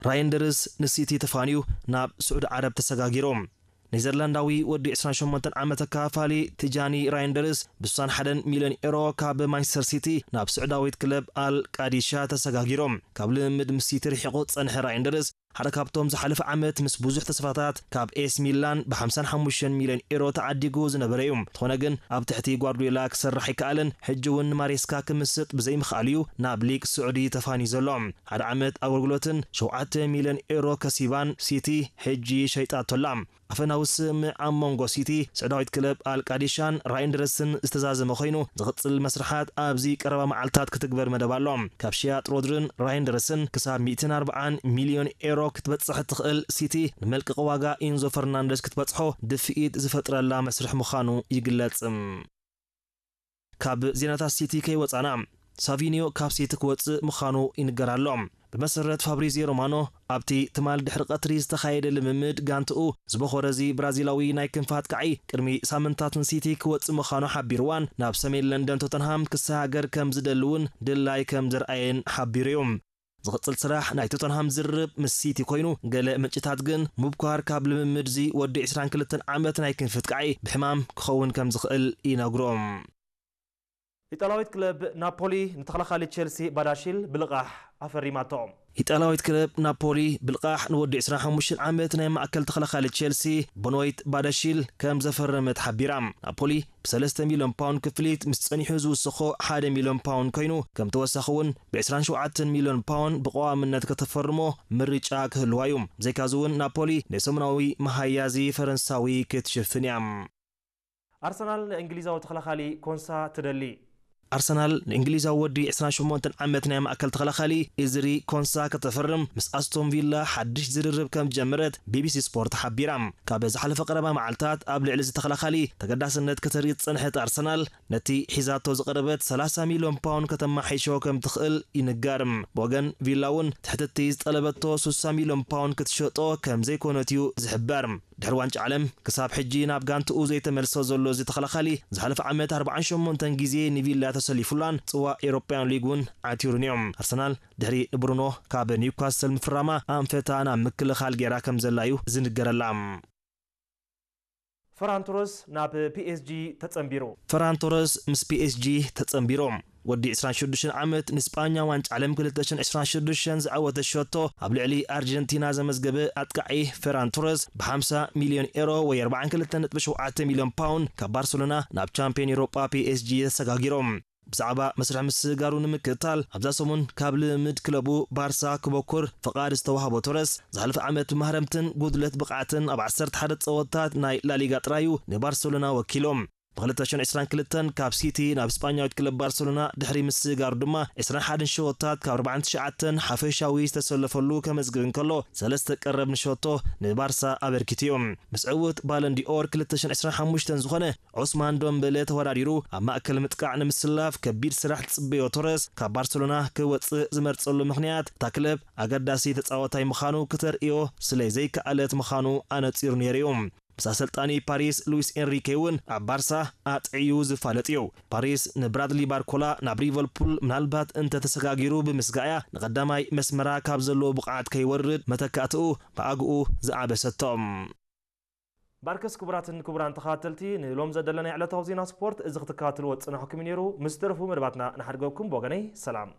ራይንደርስ ንሲቲ ተፋንዩ ናብ ስዑዲ ዓረብ ተሰጋጊሩ። ኔዘርላንዳዊ ወዲ ዕስራን ሸሞንተን ዓመት ኣካፋሊ ቲጃኒ ራይንደርስ ብ ስሳን ሓደን ሚልዮን ኤሮ ካብ ማንቸስተር ሲቲ ናብ ስዑዳዊት ክለብ ኣል ቃዲሻ ተሰጋጊሩ። ካብ ልምምድ ምስ ሲቲ ርሒቑ ዝጸንሐ ራይንደርስ ሓደ ካብቶም ዝሓለፈ ዓመት ምስ ብዙሕ ተስፋታት ካብ ኤስ ሚላን ብ ሓምሳን ሓሙሽተን ሚልዮን ኤሮ ተዓዲጉ ዝነበረ እዩ። እንተኾነ ግን ኣብ ትሕቲ ጓርዲዮላ ክሰርሕ ኣይከኣለን። ሕጂ እውን ንማሬስካ ክምስጥ ብዘይምኽኣሉ እዩ ናብ ሊግ ስዑዲ ተፋንዩ ዘሎ። ሓደ ዓመት ኣገልግሎትን ሸውዓተ ሚልዮን ኤሮ ከሲባን ሲቲ ሕጂ ሸይጣቶ ኣላ። ኣፈናዊ ስምምዕ ኣብ መንጎ ሲቲ፣ ስዑዳዊት ክለብ ኣል ቃዲሻን ራይንደርስን ዝተዛዘመ ኮይኑ፣ ዝቕጽል መስርሓት ኣብዚ ቀረባ መዓልታት ክትግበር መደብ ኣሎ። ካብ ሽያጥ ሮድርን ራይንደርስን ክሳብ ሚእትን ኣርባዓን ሚልዮን ኤሮ ክትበጽሕ እትኽእል ሲቲ፣ ንመልቀቒ ዋጋ ኢንዞ ፈርናንደስ ክትበጽሖ ድፍኢት ዝፈጥረላ መስርሕ ምዃኑ ይግለጽ። ካብ ዜናታት ሲቲ ከይወጻና፣ ሳቪኒዮ ካብ ሲቲ ክወጽእ ምዃኑ ይንገር ኣሎ። ብመሰረት ፋብሪዚዮ ሮማኖ፣ ኣብቲ ትማል ድሕሪ ቀትሪ ዝተኻየደ ልምምድ ጋንትኡ ዝበኾረ እዚ ብራዚላዊ ናይ ክንፊ ኣጥቃዒ፣ ቅድሚ ሳምንታት ንሲቲ ክወጽእ ምዃኑ ሓቢርዋን ናብ ሰሜን ለንደን ቶተንሃም ክሰጋገር ከም ዝደሊ እውን ድላይ ከም ዘርኣየን ሓቢሩ እዩ። ዝቕጽል ስራሕ ናይ ቶተንሃም ዝርርብ ምስ ሲቲ ኮይኑ፣ ገለ ምንጭታት ግን ሙብኳር ካብ ልምምድ እዚ ወዲ ዕስራን ክልተን ዓመት ናይ ክንፊ ኣጥቃዒ ብሕማም ክኸውን ከም ዝኽእል ይነግሩ። ኢጣልያዊት ክለብ ናፖሊ ንተኸላኻሊ ቸልሲ ባዳሺል ብልቓሕ ኣፈሪማቶ። ኢጣልያዊት ክለብ ናፖሊ ብልቓሕ ንወዲ ዕስራን ሓሙሽተን ዓመት ናይ ማእከል ተኸላኻሊ ቸልሲ ቦኖይት ባዳሺል ከም ዘፈረመት ሓቢራ። ናፖሊ ብ ሰለስተ ሚልዮን ፓውንድ ክፍሊት ምስ ጸኒሑ ዝውስኾ ሓደ ሚልዮን ፓውንድ ኮይኑ፣ ከም ተወሳኺ እውን ብ ዕስራን ሸውዓተን ሚልዮን ፓውንድ ብቐዋምነት ከተፈርሞ ምርጫ ክህልዋ እዩ። ብዘይካዚ እውን ናፖሊ ናይ ሰሙናዊ መሃያዚ ፈረንሳዊ ክትሽፍን እያ። ኣርሰናል ንእንግሊዛዊ ተኸላኻሊ ኮንሳ ትደሊ። ኣርሰናል ንእንግሊዛዊ ወዲ ዕስራን ሸሞንተን ዓመት ናይ ማእከል ተኸላኻሊ ኢዝሪ ኮንሳ ከተፈርም ምስ ኣስቶን ቪላ ሓድሽ ዝርርብ ከም ዝጀመረት ቢቢሲ ስፖርት ሓቢራ። ካብ ዝሓለፈ ቀረባ መዓልታት ኣብ ልዕሊ እዚ ተኸላኻሊ ተገዳስነት ከተርኢ ዝጸንሐት ኣርሰናል፣ ነቲ ሒዛቶ ዝቐረበት ሰላሳ ሚልዮን ፓውንድ ከተማሓይሾ ከም ትኽእል ይንገር። ብወገን ቪላ እውን ትሕቲ እቲ ዝጠለበቶ ስሳ ሚልዮን ፓውንድ ክትሸጦ ከም ዘይኮነት እዩ ዝሕበር። ድሕሪ ዋንጫ ዓለም ክሳብ ሕጂ ናብ ጋንትኡ ዘይተመልሰ ዘሎ እዚ ተኸላኻሊ፣ ዝሓለፈ ዓመት ኣርባዓን ሸሞንተን ግዜ ንቪላ ተሰሊፉላን ጽዋእ ኤውሮጳውያን ሊግ እውን ዓቲሩን እዩ። ኣርሰናል ድሕሪ ንብሩኖ ካብ ኒውካስል ምፍራማ ኣንፈታ ናብ ምክልኻል ገይራ ከም ዘላ እዩ ዝንገረላ። ፈራን ቶረስ ናብ ፒኤስጂ ተጸንቢሩ። ፈራን ቶረስ ምስ ፒኤስጂ ተጸንቢሩ። ወዲ ዕስራን ሽዱሽተን ዓመት ንስጳኛ ዋንጫ ዓለም ክልተ ሽሕን ዕስራን ሽዱሽተን ዝዓወተ ሸቶ ኣብ ልዕሊ ኣርጀንቲና ዘመዝገበ ኣጥቃዒ ፈራን ቶረስ ብ ሓምሳ ሚልዮን ኤሮ ወይ ኣርባዓን ክልተን ነጥቢ ሸውዓተ ሚልዮን ፓውንድ ካብ ባርሰሎና ናብ ቻምፒዮን ኤውሮጳ ፒኤስጂ ተሰጋጊሩ። ብዛዕባ መስርሕ ምስግጋሩ ንምክትታል ኣብዛ ሰሙን ካብ ልምምድ ክለቡ ባርሳ ክበኩር ፍቓድ ዝተዋህቦ ቶረስ፣ ዝሓለፈ ዓመት ብማህረምትን ጉድለት ብቕዓትን ኣብ ዓሰርተ ሓደ ጸወታት ናይ ላሊጋ ጥራዩ ንባርሰሎና ወኪሉ። ብ ክልተ ሽሕን ዕስራን ክልተን ካብ ሲቲ ናብ ስጳኛዊት ክለብ ባርሰሎና ድሕሪ ምስግጋሩ ድማ ዕስራን ሓደን ሸወታት ካብ ኣርባዓን ትሽዓተን ሓፈሻዊ ዝተሰለፈሉ ከመዝግብ እንከሎ፣ ሰለስተ ቀረብ ንሸቶ ንባርሳ ኣበርኪቱ እዩ። ምስ ዕውት ባለንዲኦር ክልተ ሽሕን ዕስራን ሓሙሽተን ዝኾነ ዑስማን ዶምበለ ተወዳዲሩ ኣብ ማእከል ምጥቃዕ ንምስላፍ ከቢድ ስራሕ ዝጽበዮ ቶረስ፣ ካብ ባርሰሎና ክወጽእ ዝመርጸሉ ምኽንያት እታ ክለብ ኣገዳሲ ተጻዋታይ ምዃኑ ክተርእዮ ስለ ዘይከኣለት ምዃኑ ኣነጺሩ ነይሩ እዩ። ምስ ኣሰልጣኒ ፓሪስ ሉዊስ ኤንሪኬ እውን ኣብ ባርሳ ኣጥዕዩ ዝፋለጥ እዩ። ፓሪስ ንብራድሊ ባርኮላ ናብ ሊቨርፑል ምናልባት እንተ ተሰጋጊሩ ብምስጋእያ ንቐዳማይ መስመራ ካብ ዘለዎ ብቕዓት ከይወርድ መተካእትኡ ብኣግኡ ዝኣበሰቶ። ባርከስ ክቡራትን ክቡራን ተኸታተልቲ፣ ንሎም ዘደለና ዕለታዊ ዜና ስፖርት እዚ ክትከታተልዎ ዝጸናሕኩም እዩ ነይሩ። ምስ ተረፉ መደባትና ንሓድገኩም። ብወገነይ ሰላም።